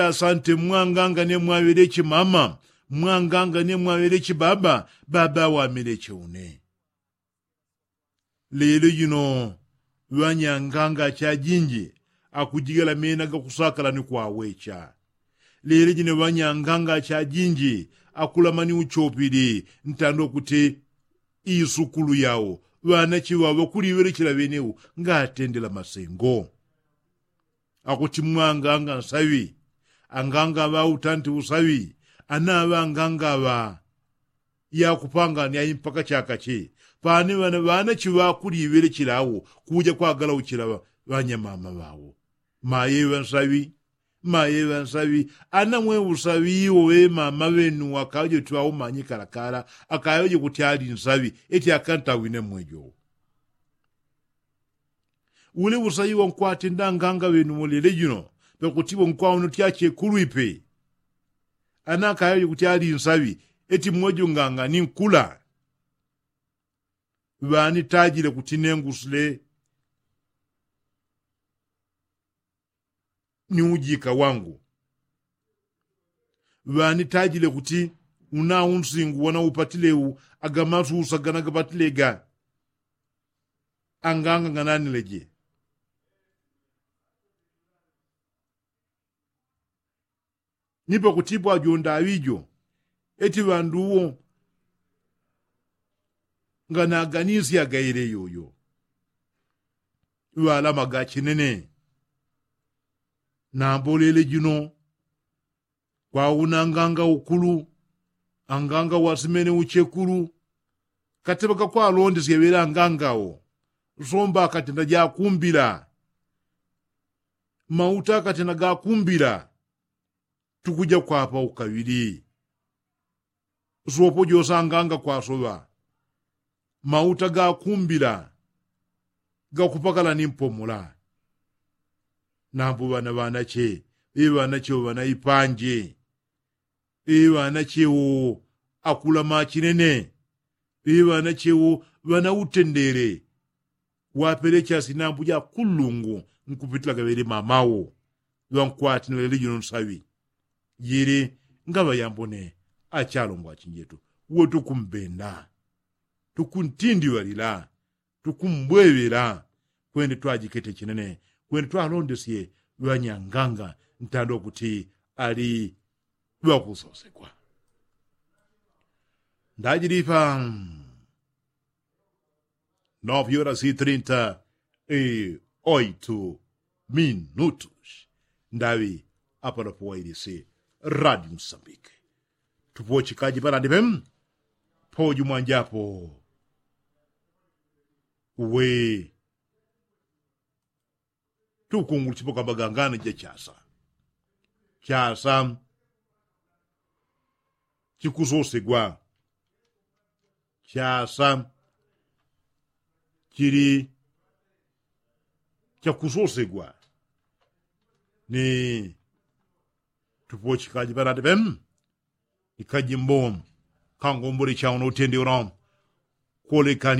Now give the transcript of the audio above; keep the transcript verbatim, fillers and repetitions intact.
Asante mwanganga ne mwaŵeleche mama, mwanganga ne mwaŵeleche baba, baba wamileche une. Lelo jino ŵanyanganga chajinji akujigala mena gakusakala ni kwawecha. Lelo jino ŵanyanganga chajinji akulamani uchopili ntando kuti isukulu yao ŵanache ŵao ŵakuliŵelechela ŵeneu ngatendela masengo. Akuti mwanganga nsaŵi, anganga ŵa utanti usaŵi, anaŵa anganga ŵa yakupangani ai mpaka chakache. Pane ŵana ŵanache ŵakuliŵelechela awo kuja kwagalauchela ŵanyamama ŵao. Maye ŵansaŵi, maye ŵansaŵi. Ana mwe usaŵi iwo ŵemama ŵenu wakajo twaumanye kalakala akayoje kuti ali nsaŵi eti akantawine mwejo. Ule usaŵi wankwatenda anganga ŵenu mulele jino, pakuti wankwauno tyachekulwipe. Ana akayoje kuti ali nsaŵi eti mwejo nganga ni nkula. Ŵanitajile kuti nengusile ni ujika wangu. Ŵanitajile kuti una unsingu wanaupatile u agamasusa ganagapatile ga anganga ngananileje. Ni pakutipo ajo ndaŵi jo eti ŵandu uwo nganaganisyaga ile yoyo. Ŵalamaga chinene. Nambo lele jino kwauna anganga ukulu, anganga wasimene uchekulu. Kateŵa kakwalondesya ŵele anganga wo somba akatenda jakumbila. Mauta akatenda gakumbila. Tukuja kwapa ukaŵili. Sopo jose anganga kwasoŵa mauta gakumbila gakupakala ni mpomola. Nambo ŵana ŵanache ŵe ŵanache wo ŵana ipanje. Ŵe ŵanache wo akula machinene. Ŵe ŵanache wo ŵana utendele. Wapelecha sinambu ja kulungu nkupitila gaŵele mama wo. Ŵankwati nalele jino nsaŵi. Jili ngaŵa yambone achalongo achinjetu we tukumbenda tukuntindiŵalila tukumbweŵela. Kwende twajikete chinene kwende twalondesye ŵanyanganga ntando kuti ali ŵakusosegwa. Ndajilipa. Nove horas e trinta e oito minutos. Ndaŵi apalapo wailisi radio msambike. Tupochikaji panandipe poju mwanjapo. Uwe tukunguluchipo kamba gangana ja chasa. Chasa chikusosegwa. Chasa chili chakusosegwa. Ni tupochikaji panandipe ni kajimbo kangombole chauno utende uno. Kolekani.